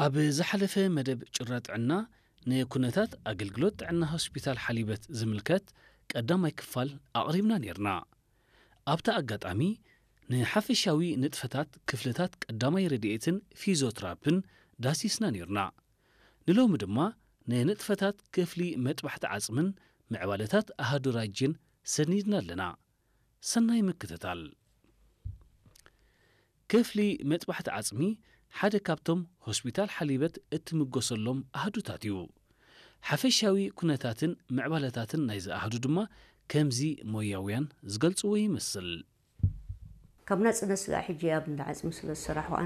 ኣብ ዝሓለፈ መደብ ጭራ ጥዕና ንኩነታት ኣገልግሎት ጥዕና ሆስፒታል ሓሊበት ዝምልከት ቀዳማይ ክፋል ኣቕሪብና ነይርና። ኣብታ ኣጋጣሚ ንሓፈሻዊ ንጥፈታት ክፍልታት ቀዳማይ ረድኤትን ፊዚዮትራፕን ዳሲስና ነይርና። ንሎሚ ድማ ንንጥፈታት ክፍሊ መጥባሕቲ ዓጽምን ምዕባለታት ኣሃዱ ራጅን ሰኒድና ኣለና። ሰናይ ምክትታል። ክፍሊ መጥባሕቲ ዓጽሚ ሓደ ካብቶም ሆስፒታል ሓሊበት እትምጎሰሎም ኣሃዱታት እዩ። ሓፈሻዊ ኩነታትን ምዕባለታትን ናይዚ ኣሃዱ ድማ ከምዚ ሞያውያን ዝገልጽዎ ይመስል። ካብ ናጽነት ስጋዕ ሕጂ ኣብ እንዳ ዓጽሚ ስለ ዝሰራሕኩ